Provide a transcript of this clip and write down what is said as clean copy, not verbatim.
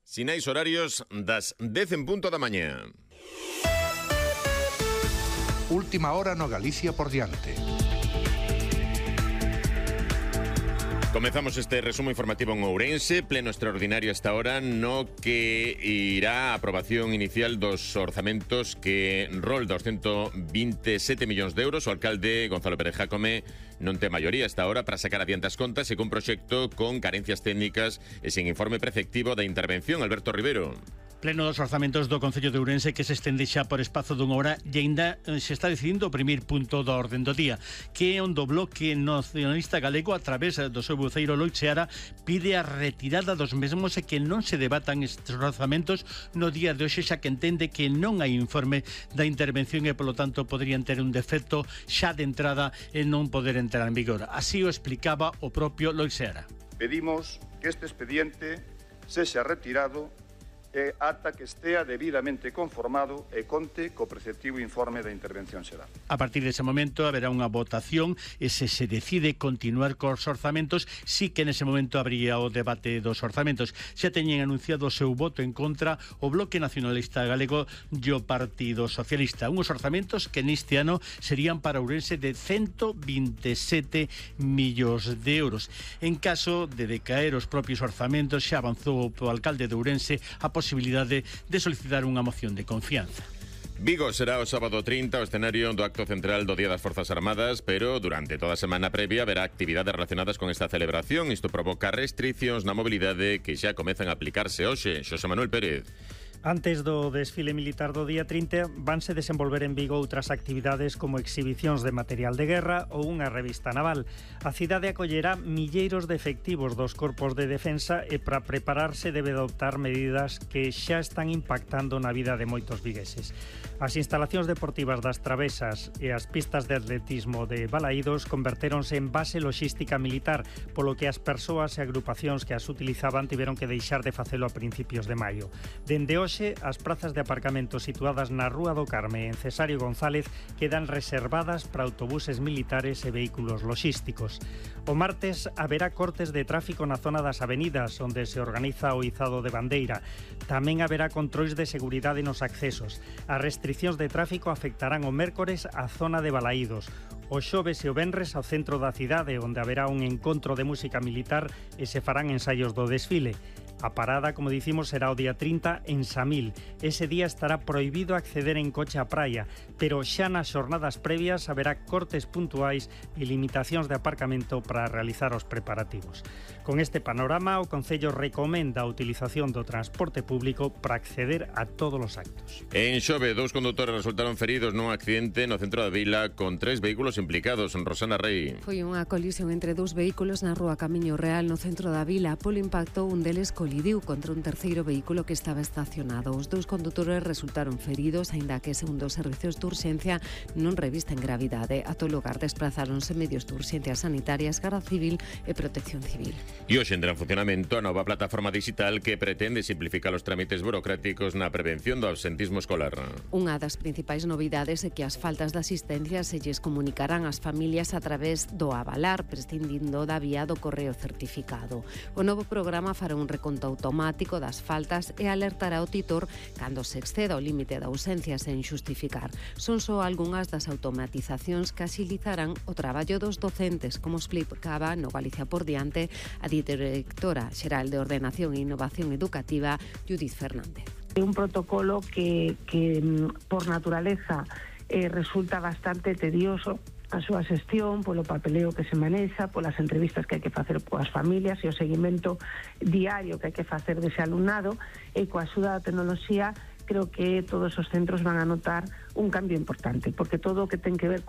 Sinais horarios das 10:00 da mañá. Última hora no Galicia por diante. Comezamos este resumo informativo en Ourense, pleno extraordinario esta hora, no que irá a aprobación inicial dos orzamentos que rolda os 127 millóns de euros. O alcalde Gonzalo Pérez Jácome non ten maioría esta hora para sacar adiante as contas e cun proxecto con carencias técnicas e sin informe preceptivo da intervención. Alberto Rivero. Pleno dos orzamentos do Concello de Ourense que se estende xa por espazo dunha hora e aínda se está decidindo o primeiro punto da orden do día, que é onde o Bloque Nacionalista Galego, a través do seu voceiro Lois Seara, pide a retirada dos mesmos e que non se debatan estes orzamentos no día de hoxe, xa que entende que non hai informe da intervención e, polo tanto, poderían ter un defecto xa de entrada e non poder entrar en vigor. Así o explicaba o propio Lois Seara. Pedimos que este expediente sexa retirado ata que estea debidamente conformado e conte co preceptivo informe da intervención xeral. A partir dese momento haberá unha votación e se decide continuar cos orzamentos, sí que nese momento habría o debate dos orzamentos. Xa teñen anunciado o seu voto en contra o Bloque Nacionalista Galego e o Partido Socialista. Unhos orzamentos que neste ano serían para Ourense de 127 millóns de euros. En caso de decaer os propios orzamentos, xa avanzou o alcalde de Ourense a posibilidade de solicitar unha moción de confianza. Vigo será o sábado 30 o escenario do acto central do Día das Forzas Armadas, pero durante toda a semana previa haberá actividades relacionadas con esta celebración. Isto provoca restricións na mobilidade que xa comezan a aplicarse hoxe. Xosé Manuel Pérez. Antes do desfile militar do día 30 vanse desenvolver en Vigo outras actividades como exhibicións de material de guerra ou unha revista naval. A cidade acollerá milleiros de efectivos dos corpos de defensa e para prepararse debe adoptar medidas que xa están impactando na vida de moitos vigueses. As instalacións deportivas das Travesas e as pistas de atletismo de Balaídos convertéronse en base logística militar, polo que as persoas e agrupacións que as utilizaban tiveron que deixar de facelo a principios de maio. Dende hoxe, as prazas de aparcamento situadas na Rúa do Carme en Cesario González quedan reservadas para autobuses militares e vehículos logísticos. O martes haberá cortes de tráfico na zona das avenidas, onde se organiza o izado de bandeira. Tamén haberá controis de seguridade nos accesos. As restricións de tráfico afectarán o mércores á zona de Balaídos, o xoves e o venres ao centro da cidade, onde haberá un encontro de música militar e se farán ensaios do desfile. A parada, como dicimos, será o día 30 en Samil. Ese día estará prohibido acceder en coche á praia, pero xa nas xornadas previas haberá cortes puntuais e limitacións de aparcamento para realizar os preparativos. Con este panorama, o Concello recomenda a utilización do transporte público para acceder a todos os actos. En Xove, 2 condutores resultaron feridos nun accidente no centro da vila con 3 vehículos implicados. Rosana Rey. Foi unha colisión entre 2 vehículos na rúa Camiño Real no centro da vila. Polo impacto, un deles colidiu contra un terceiro vehículo que estaba estacionado. Os 2 condutores resultaron feridos, aínda que, segundo os servicios de urxencia, non revisten gravidade. A todo lugar desprazáronse medios de urxencia sanitarias, Garda Civil e Protección Civil. E hoxe entra en funcionamento a nova plataforma digital que pretende simplificar os trámites burocráticos na prevención do absentismo escolar. Unha das principais novidades é que as faltas de asistencia se lles comunicarán ás familias a través do avalar, prescindindo da vía do correo certificado. O novo programa fará un reconto automático das faltas e alertará o titor cando se exceda o límite de ausencia sen xustificar. Son só algunhas das automatizacións que axilizarán o traballo dos docentes, como explicaba no Galicia por diante a directora xeral de Ordenación e Innovación Educativa, Judith Fernández. É un protocolo que por naturaleza resulta bastante tedioso a súa xestión, polo papeleo que se manexa, polas entrevistas que hai que facer coas familias e o seguimento diario que hai que facer dese alumnado, e coa axuda da tecnoloxía creo que todos os centros van a notar un cambio importante, porque todo o que ten que ver coa